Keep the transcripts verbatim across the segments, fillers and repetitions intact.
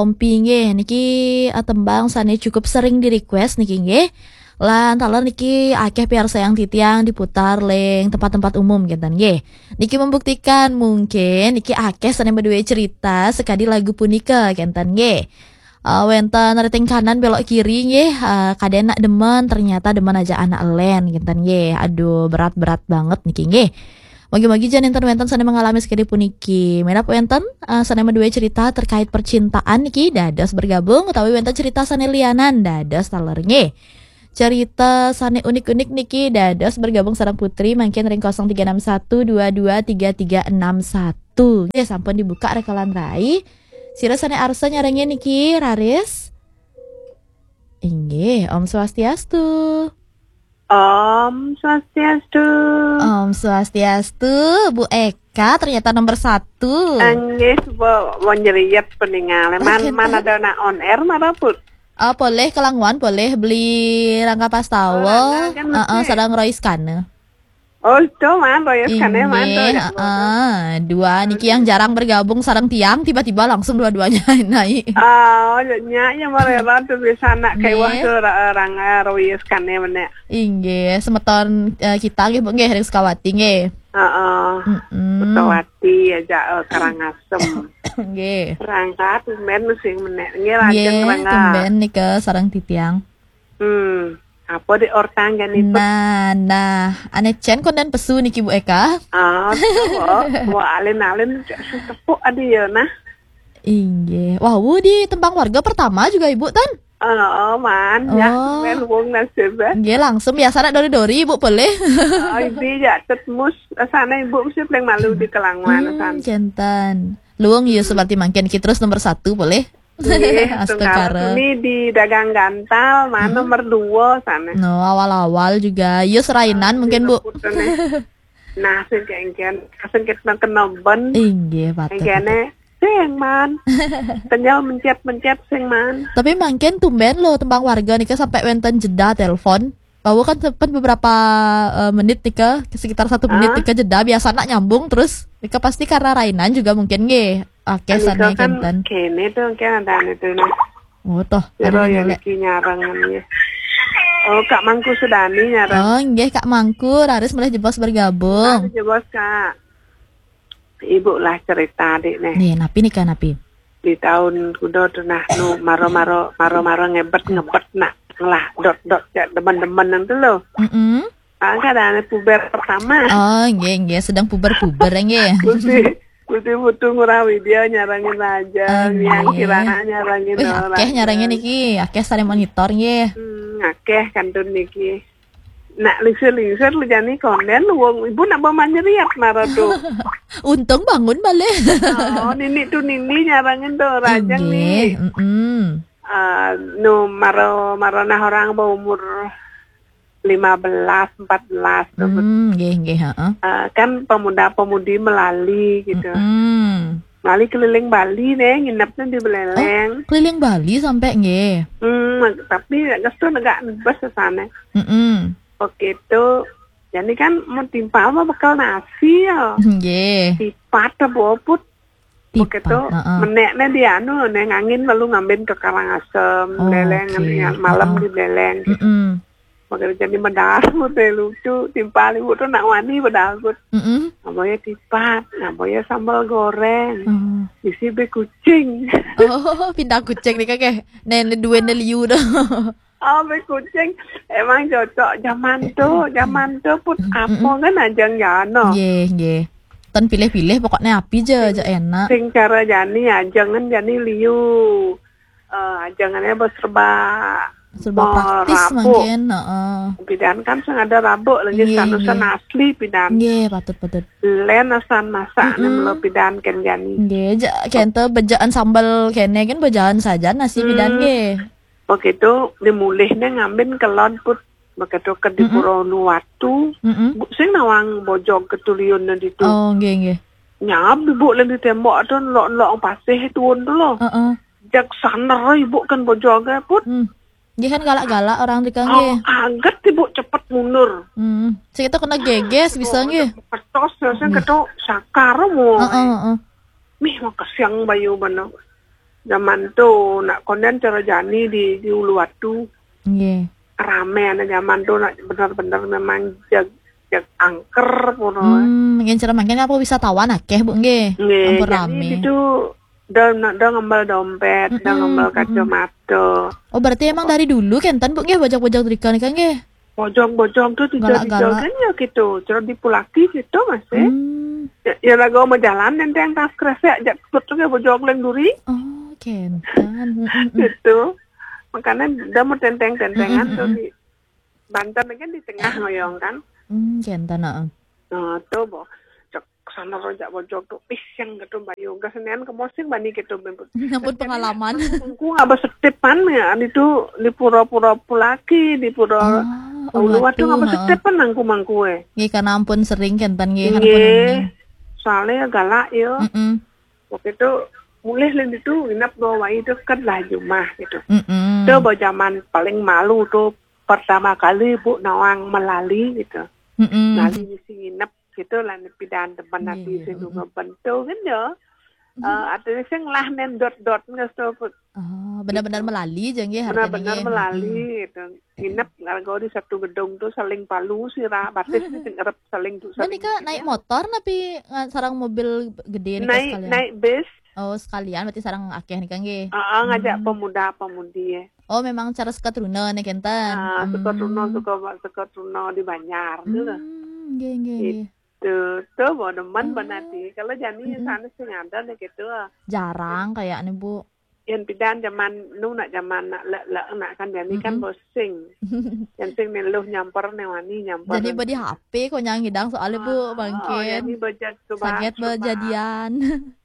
Ompi nggih, niki, eh, tembang sane cukup sering di-request niki nggih. Lan taler niki akeh piarsayang titiang diputar ling tempat-tempat umum kinten nggih. Niki membuktikan mungkin niki akeh sane maduwe cerita sekadi lagu punika kinten nggih. Eh, wenten riting kanan belok kiri nggih, eh, kaden nak demen, ternyata demen aja anak elen kinten nggih. Aduh, berat-berat banget niki nggih. Mugi-mugi jan enten wenten sane mengalami sekadi puniki. Menapa wenten, eh, sane maduwe cerita terkait percintaan niki dados bergabung utawi wenten cerita sane lianan dados taler nggih. Cerita sane unik-unik niki dados bergabung sareng Putri mangkin ring kosong tiga enam satu dua dua tiga tiga enam satu. Nggih, sampun dibuka rekalan rai. Sira sane arsa nyarengin niki, raris? Inggih, Om Swastiastu. Om Swastiastu. Om Swastiastu, Bu Eka ternyata nomor satu. Inggih, Bu, mau nyeriet peninggal. Man, Oke, man tuh. Ada nak on air, mana pun? Oh, boleh kelanguan, boleh beli Rangga Pastawa. Oh, Rangga kan Heeh, mesti. Sareng Roy Skane. Oh, itu man, Roy Skane man, tuh, Inggih, ya, heeh. Dua niki yang jarang bergabung sareng tiang, tiba-tiba langsung dua-duanya naik. Oh, ya, ya, ya, mereka tuh bisa nak kayak wah Nggih. Tuh ra-, orang, eh, Roy Skane mana. Inggih, semeton, eh, kita nggih, Bu, nggih, ring Sukawati nggih. Heeh. Mm-mm. Sukawati aja, eh, Karangasem. Nggih. Rangga tumben sing menek. Nggih, lajeng Nggih, Rangga. Tumben nika sareng titiang. Hmm. Apa di ortang jani, Bu? Nah, nah, ane cen konden pesu niki, Bu Eka. Ah, Bu, Bu, alin-alin tepuk adi ya, nah. Inggih. Wah, wu di tembang warga pertama juga Ibu tan? Oh, oh, man, ya, Oh. Tumben wong nasib, eh. Nggih, langsung biasa nak dori-dori Ibu boleh. Oh, ini ya, tetmus, sana Ibu mesti paling malu di kelanguan, Hmm, kan. Jantan. Luwung ya seperti mangkin ki terus nomor satu boleh. Nggih, Astungkara. Tungkara tuni di dagang gantal, mana Hmm. Nomor dua sana. No, awal-awal juga. Yo serainan mungkin, Bu. Luput sana. Nah, sing kengken, sing kena kena ben. Inggih, patut, Kengkene, patut. Sing man. Kenyal mencet-mencet sing man. Tapi mangkin tumben loh tembang warga nika sampai wenten jeda telepon. Bahwa kan sempat beberapa, eh, menit nika, sekitar satu menit Ah. Nika jeda, biasa nak nyambung terus. Nika pasti karena rainan juga mungkin nggih. Oke, Anika sana kan kenten. Kene tuh, kan ada anu tuh, nah. Oh, toh. Kira ada yang lelek. Niki nyarangan ya. Oh, Kak Mangku Sudani nyarang. Oh, nggih, Kak Mangku, raris mulai jebos bergabung. Ah, jebos, Kak. Ibu lah cerita, Dik, nih. Nih, napi nika, napi? Di tahun kuda tuh, nah, nu, maro-maro, maro-maro ngebet-ngebet, nak. Lah, dot-dot, cek demen-demen nang tuh, loh. Mm-mm. Ah, kan ada anak puber pertama. Oh, nggih, nggih, sedang puber-puber, nggih. Kudu, kudu putu ngurah widya nyarangin raja, Oh, yang nggih. Kirana nyarangin Wih, orang. Akeh nyarangin niki, akeh sare monitor, nggih. Hmm, akeh kantun niki. Nak lingsir-lingsir lu jani konden, wong ibu nak bawa nyeriat marah tuh. Untung bangun balik. Oh, nini tuh nini nyarangin tuh, raja Nggih, nih. Mm-mm. Ah, nu maro, maro nah orang berumur lima belas, empat belas tuh. Hmm, nggih, nggih, heeh. Ah, kan pemuda-pemudi melali gitu. Mm-mm. Melali keliling Bali deh, nginepnya di Beleleng. Oh, keliling Bali sampai nggih. Hmm, tapi nggak tuh negak bus ke sana. Mm-mm. Oke tuh, jadi kan mau timpal mah bekal nasi ya. Nggih. Tipat apa oput? Tipat, Begitu, heeh. Meneknya di anu, neng angin lalu ngambin ke Karangasem, Oh, Beleleng, oke. Malam Heeh. Di Beleleng. Mm-mm. Makanya jadi mendaru deh lucu, timpal ibu tuh nak wani mendaru. Mm-mm. Namanya tipat, namanya sambal goreng. Hmm. Isi be kucing. Oh, pindah kucing nih kakek. Nenek dua liu dah. Oh, be kucing. Emang cocok zaman tuh, zaman tuh put apa Mm-mm. Kan ajang jano. Nggih, nggih. Tan pilih-pilih pokoknya api je, aja enak. Sing cara jani ajang kan jani liu. Eh, ajangannya bos serba serba praktis mungkin, heeh. Pidan kan sing ada rabuk lagi. Nggih, sanusan nggih. Asli pidan. Nggih, patut, patut. Len asan masak Mm-mm. Nih melo pidan kan jani. Nggih, ja, kente bejaan sambal kene kan bejaan saja nasi pidan Hmm. Nggih. Begitu dimulihnya ngambin kelon put. Begitu ke di Mm-mm. Pura Uluwatu, Mm-mm. Bu, sing nawang bojog ketuliun ditu. Oh, nggih, nggih. Nyab ibu len di tembok tuh, lok-lok pasih tuun tuh loh. Heeh. Jak saner ibu kan bojog put. Hmm. Nggih kan galak-galak orang tika Oh, nggih. Aget ibu cepet mundur. Hmm. Sing itu kena geges bisa nggih. Ketos, terus yang Nggih. Ketok sakar mau. Heeh, heeh. Mih, mau kesiang bayu bener. Zaman tu nak konden cara jani di di Uluwatu. Nggih. Rame ana zaman tu nak bener-bener memang jag jag angker ngono. Hmm, yen cara mangkin apa wisatawan akeh, Bu, nggih. Nggih, ampun jani rame. Itu dah nak dah ngembal dompet, dah ngembal kacamata. Oh, berarti emang dari dulu kenten, Bu, nggih, bojog-bojog drika nika nggih. Bojog-bojog tu tiga-tiga galak-galak kan ya gitu. Cara dipulaki gitu masih. Hmm. Ya, ya lagu mau jalan nenteng tas kresek jak put tu nggih bojog leng duri. Oh, kenten. Mm-mm. Gitu. Makanya dah mau tenteng-tentengan tu di Banten kan di tengah ngoyong kan. Hmm, kenten, heeh. Nah, tu boh. Cek sana rojak bojog tu. Ih, yang gitu bayu. Gak senen ke mosing bani gitu. Ampun pengalaman. Aku nggak bersetepan ya. Itu di pura-pura pulaki, di pura Uluwatu nggak bersetepan nangku mangku eh. Nggih, karena ampun sering kenten nggih, karena ampun ini. Soalnya galak ya. Mm-mm. Waktu itu mulih lagi itu nginep dua wai itu kan lah jumah gitu. Mm-mm. Itu zaman paling malu tuh pertama kali Bu nawang melali gitu. Mm-mm. Melali misi nginep gitu lah nepi dan teman nabi sing juga bentuk kan ya. Eh, artinya sing lah nen dot-dot nggak stop. Oh, benar-benar melali aja nggih. Benar-benar melali gitu. Nginep ngargo di satu gedung tuh saling palu sira batis sing erep saling tuh. Menika naik motor napi sarang mobil gede nika naik sekalian? Naik bis. Oh, sekalian berarti sarang akeh nika nggih. Heeh, ngajak pemuda-pemudi ya. Oh, memang cara sekat runa nih kenten. Ah, sekat runa, sekat sekat runa di Banjar tuh. Hmm, nggih nggih nggih. Tuh, tuh, mau demen banati. Kalau jani sana sing ada nih gitu. Jarang kayaknya, Bu. Yang pidan zaman nu nak zaman nak lek lek nak kan jani kan bosing. Yang sing nih luh nyamper nih wani nyamper. Jadi badi H P kok nyang hidang soalnya, Bu, mangkin. Jadi bejak saget bejadian.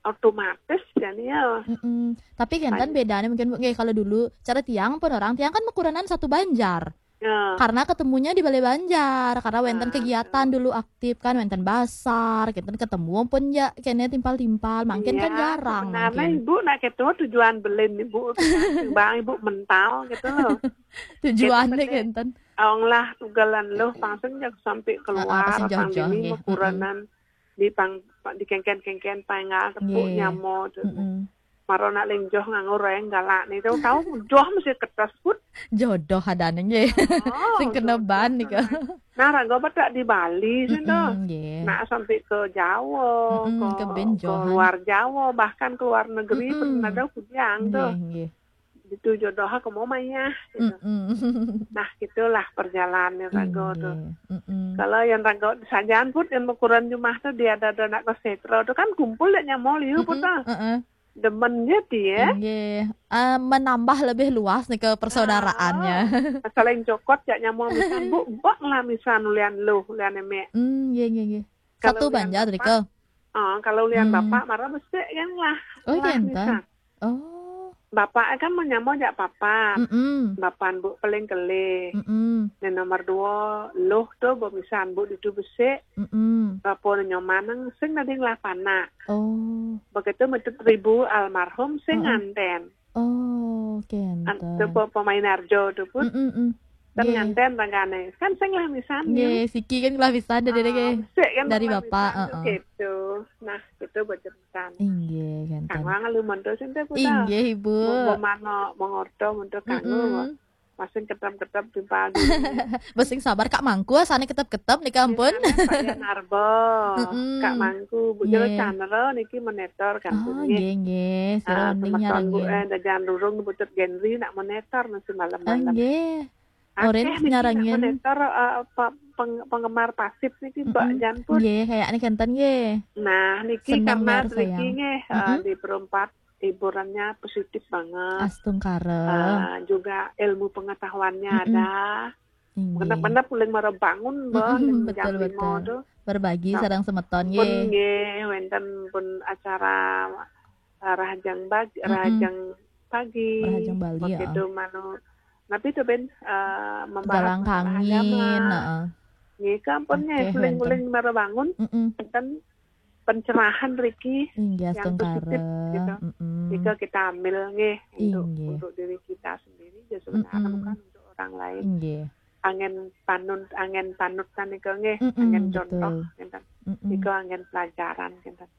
Otomatis jani ya. Mm-mm. Tapi kenten bedanya mungkin, Bu, nggih, kalau dulu cara tiang pun orang tiang kan mekuranan satu banjar. Ya. Karena ketemunya di Balai Banjar, karena wenten kegiatan dulu aktif kan, wenten basar, kenten ketemu pun ya kene timpal-timpal, mangkin kan jarang. Sebenarnya mangkin. Ibu nak ketua tujuan belin ibu, bang ibu mental gitu loh. Tujuannya kenten. Awang lah tugalan loh, pangseng jak sampai keluar, pang ini mekuranan di pang di kengken-kengken pangal tepuk nyamo tuh. Maro nak lingjoh nganggo reng galak nih. Tahu-tahu joh mesti kertas put. Jodoh adane nggih. Oh, sing kena ban nika. Nah, raga petak di Bali sih tuh. Nggih. Nak sampai ke Jawa, ke, ke luar Jawa, bahkan ke luar negeri pernah ada kudiang tuh. Nggih, nggih. Itu jodoh aku mau mayah gitu. Nah, gitulah perjalanan raga tuh. Kalau yang raga sajaan put yang ukuran jumah tuh dia ada anak ke setro tuh kan kumpul dek nyamol ieu put tuh. Demen ya dia. Nggih. Eh, menambah lebih luas nih ke persaudaraannya. Saling cokot ya nyamol misan, Bu, bak lah misan ulian luh, ulian emek. Hmm, nggih, nggih, nggih. Satu banjar rika. Ah, kalau ulian bapak marah besik kan lah. Oh, lah kenten. Misan. Oh. Bapak kan menyamol jak papat. Mm-mm. Bapak Bu paling kelih. Mm-mm. Nah, nomor dua, luh tuh Bu misan Bu ditu besik. Mm-mm. Bapa nyomaneng sing nading lah panak. Oh. Begitu metut ribu almarhum sing nganten. Oh, kenten. Itu pemain arjo tuh pun. Mm-mm. Kan nganten ragane. Kan sing lah misan. Nggih, siki kan lah misan dari, ah, dari bapak, heeh. Gitu. Nah, itu buat cepetan. Inggih, kenten. Kang Wang lu monto sing teh putar. Inggih, Ibu. Mau mano mengorto monto kanggo. Masing ketep-ketep timpal. Masing sabar Kak Mangku, asane ketep-ketep nika ampun. Pak Yan Arbo, Kak Mangku, Bu Jero Chandra niki monitor kan. Oh, nggih, nggih. Sira mending nyarengin. Dajan Rurung Butut Genri nak monitor masih malam-malam. Nggih. Orange nyarengin. Monitor, eh, penggemar pasif niki Mbak Jan pun. Nggih, kayaknya kenten nggih. Nah, niki karena niki nggih, eh, di perempat hiburannya positif banget. Astungkara. Eh, juga ilmu pengetahuannya ada. Benar-benar paling mara bangun, Mbak, betul, betul. Berbagi sareng semeton, nggih. Nggih, wenten pun acara, eh, rahajeng bagi, rahajeng pagi. Rahajeng Bali, begitu manu. Tapi itu ben, eh, membahas masalah agama. Heeh. Nggih, kampun nggih, paling-paling mara bangun, wenten pencerahan riki yang positif gitu. Jika kita ambil nggih untuk, untuk diri kita sendiri ya sebenarnya bukan untuk orang lain. Nggih. Angin panut, angin panutan nika nggih, angin contoh ngenten. Nika angin pelajaran ngenten.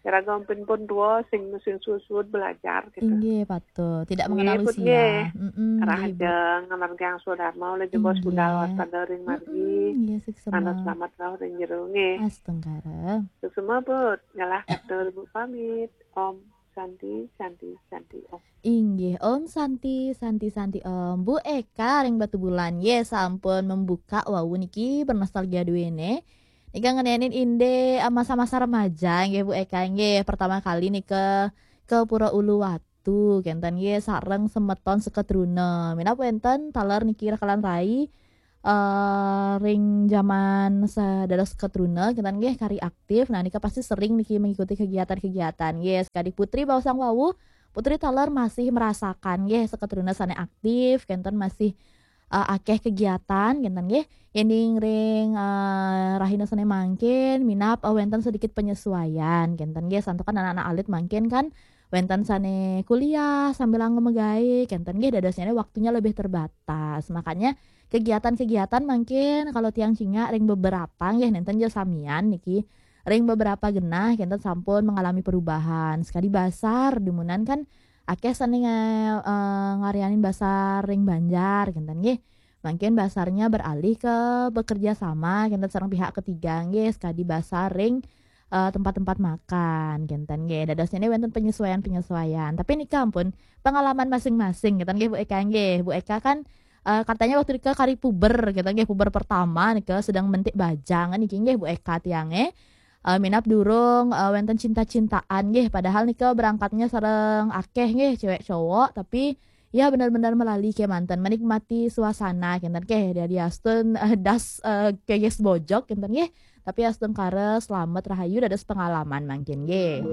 Iraga ampun pun tua sing sing suud-suud belajar gitu. Inggih, patut. Tidak Nggih, mengenal Put, usia. nggih. Mm-mm, nggih, Bu. Rahajeng ngamargiang swadharma oleh jebos Inggih. budal waspada ring margi. Mm-mm, nggih, suksema. Manah selamat rauh ring jero nggih. Astungkara. Suksema, Put, ngelah katur Bu pamit. Om Santi, Santi, Santi, Om. Inggih, Om Santi, Santi, Santi, Om. Bu Eka ring Batubulan, nggih, sampun membuka wau niki bernostalgia duene. Nika ngenenin indik, eh, masa-masa remaja, nggih, Bu Eka, nggih. Pertama kali nika ke Pura Uluwatu, kenten, nggih, sareng semeton seketruna. Minab wenten taler niki rekalan rai, eh, ring jaman sa-, dados seketruna, kenten, nggih, kari aktif. Nah, nika pasti sering niki mengikuti kegiatan-kegiatan, nggih. Sekadi Putri baosang wau, Putri taler masih merasakan, nggih, seketruna sane aktif, kenten, masih, eh, akeh kegiatan, kenten, nggih. Yening ring, eh, rahina sane mangkin, minab, eh, wenten sedikit penyesuaian, kenten, nggih. Santukan anak-anak alit mangkin kan wenten sane kuliah sambil anggo megawe, kenten, nggih, dadosnyane waktunya lebih terbatas. Makanya kegiatan-kegiatan mangkin kalau tiang cingak ring beberapa, nggih, nenten ja samian niki. Ring beberapa genah kenten sampun mengalami perubahan. Sekadi basar, dumunan kan akeh sane nga-, eh, ngaryanin basar ring banjar, kenten, nggih. Mangkin basarnya beralih ke bekerja sama, kenten, sareng pihak ketiga, nggih, sekadi basar ring, eh, tempat-tempat makan, kenten, nggih. Dadosnyane wenten penyesuaian-penyesuaian. Tapi nika ampun pengalaman masing-masing, kenten, nggih, Bu Eka, nggih. Bu Eka kan, eh, katanya waktu nika kari puber, kenten, nggih, puber pertama nika sedang mentik bajang niki, nggih, Bu Eka tiange. Eh, minab durung, eh, wenten cinta-cintaan, nggih. Padahal nika berangkatnya sareng akeh, nggih, cewek cowok, tapi ya benar-benar melali kemanten, menikmati suasana, kenten, nggih. Dari astun, eh, das, eh, keges bojok, kenten, nggih. Tapi astungkara selamat rahayu dados pengalaman mangkin, nggih.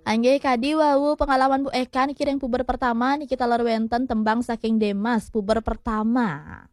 Anggih, kadi wau pengalaman Bu Eka niki ring puber pertama niki taler wenten tembang saking Demas, puber pertama.